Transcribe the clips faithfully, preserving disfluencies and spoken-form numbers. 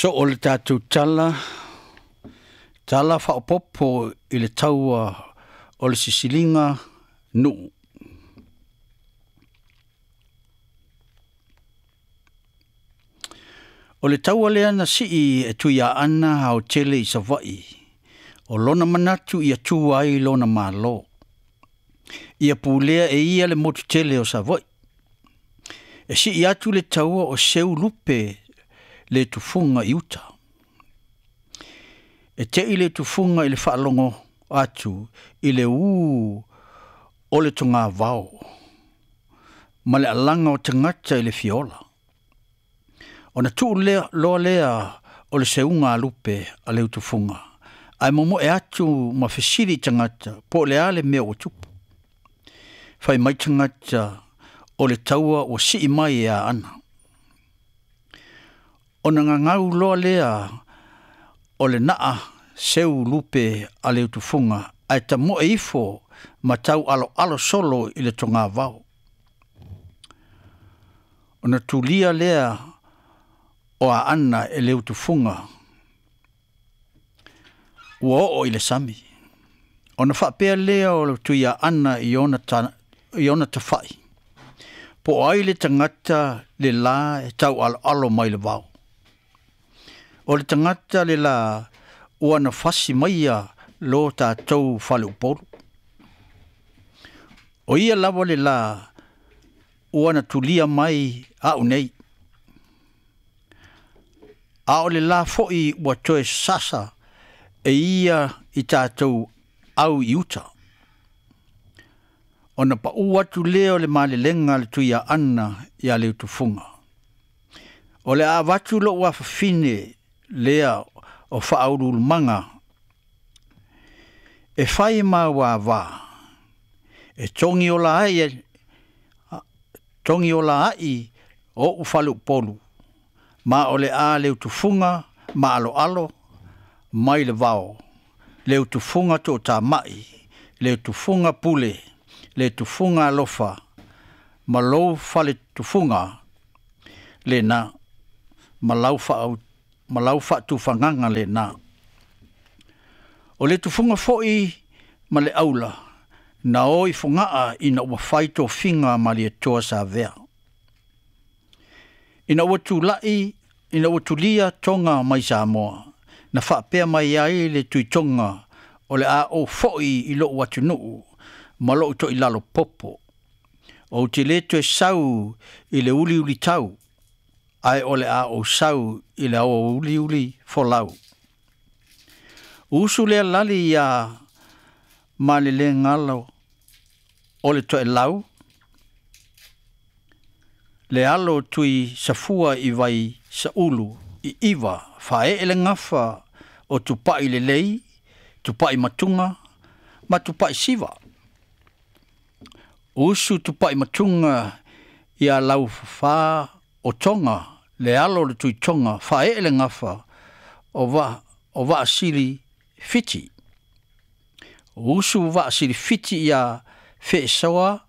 Soo le tatou tala, tala faaopoopo i le taua o le sisiliga nuu. O le taua lea na sii e Tuiaana aotele i Savaii, o lona manatu ia tu ai lona malo, ia pulea e ia le motu tele o Savaii. E sii atu le taua o seu lupe le tufuga i uta. E tei le tufuga i le faalogo atu i le ū o le togavao ma le alaga o tagata i le fiola. Ona tuu lea, loa lea o le seuga a lupe a le utufuga, ae momoe atu ma fesili i tagata po o le a le mea ua tupu. Fai mai tagata o le taua ua sii mai e Aana. Ona gagau loa lea o le naa seu lupe a le utufuga, ae tamoe ifo ma tau aloalo solo i le togavao. Ona tulia lea o Aana e le utufuga ua oo i le sami. Ona faapea lea o le Tuiaana i ona, ta, i ona tafai, po o ai le tagata le la e tau aloalo mai le vao. O le tagata le la ua na fasi maia lo tatou faleupolu. O ia lava le la ua na tulia mai au nei. A o le la foi ua toe sasa e ia i tatou au i uta. Ona pau atu lea o le malelega a le Tuiaana ia le utufuga. O le a avatu lou afafine lea o faauluulumaga e fai ma uavā, e togi ola ai, togi ola ai o ou faleupolu, ma o le a le utufuga ma aloalo mai le vao, le utufuga toatamai, le utufuga pule, le tufuga alofa, ma lou faletufuga lena, ma lau faa ma lau faatufagaga lena. O le tufuga foi ma le aula, na o i Fogaa ina ua fai tofiga a Malietoa Savea. Ina ua tulai, ina ua tulia Toga mai Samoa, na faapea mai ai le Tuitoga o le a ou foi i lou atunuu ma lou toilalo popo. Ou te le toe sau i le uliulitau, ae o le a ou sau i le aoauli folau. Usu lea lali ia Malelegalo o le toelau, le alo tui safua i vai saulu i iva faee le gafa o tupai lelei, tupai matuga ma tupai siva. Usu tupai matuga ia laufafā o Toga, le alo o le Tuitoga, faee le gafa o va o vaasili fiti. Usu vaasili fiti ia feesoa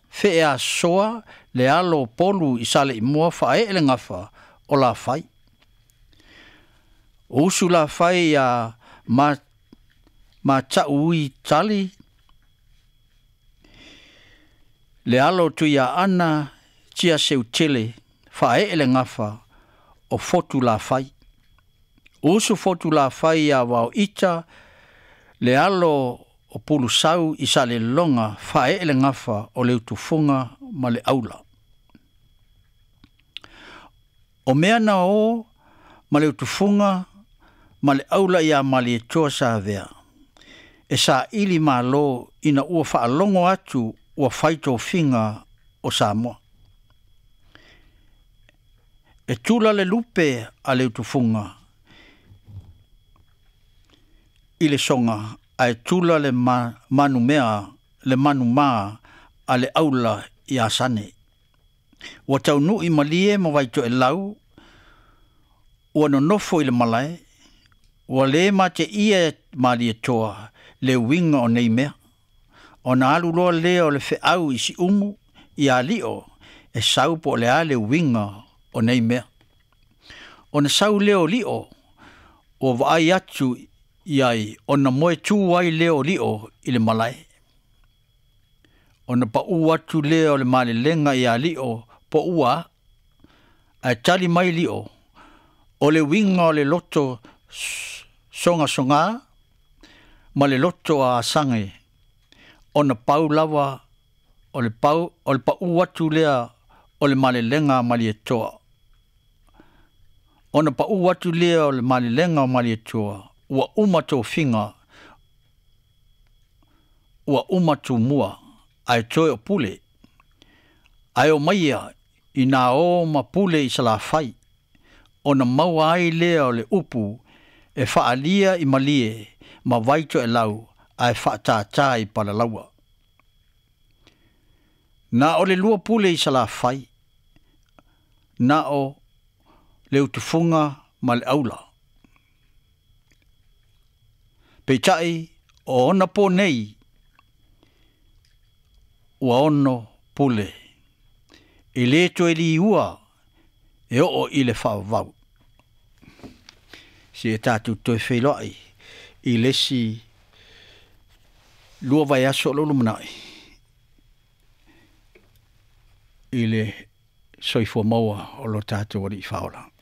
feasoa le alo o Polu i Saleimoa, faaee le gafa o Lafai. Usu Lafai ia ma Mataui tali le alo o Tuiaana tia seutele, faaee le gafa o Fotu Lafai. Usu Fotu Lafai ia Vao ita le alo o Pulusau i Salelologa, faaee le gafa o le utufuga ma le aula. O mea na o ma le utufuga ma le aula ia Malietoa Savea, e saili malo ina ua faalogo atu ua fai tofiga o Samoa. E tula le lupe a le utufuga i le soga, ae tula le ma, manumea le manumā a le aula i Asane. Ua taunuu malie ma Vaitoelau, ua nonofo i le malae, ua le mateia e Malietoa le uiga o nei mea. Ona alu loa lea o le feau i Siumu i Alio e sau po o le a le uiga o nei mea. Ona sau lea o Lio ua vaai atu i ai ona moe tu ai lea o Lio i le malae. Ona paʻu atu lea o le malelega ia Lio po ua ae tali mai Lio, o le uiga o le loto sogasogā ma le loto a asage, ona pau lava o le pau o le paʻu atu lea o le malelega a Malietoa. Ona paʻu atu lea o le malelega o Malietoa, ua uma tofiga, ua uma tumua, ae toe o pule. Ae o maia i nā o ma pule i Salafai, ona maua ai lea o le upu e faalia i malie ma Vaitoelau ae faatātā i Palalaua. Na o le lua pule i Salafai, na o le utufuga ma le aula. Peitai o ona po nei, ua ono pule. E le toe liua e oo i le faavavau. Se e tatou toe feiloai i le isi lua vaiaso o lo lumanai i le soifua maua o lo tatou Alii Faaola.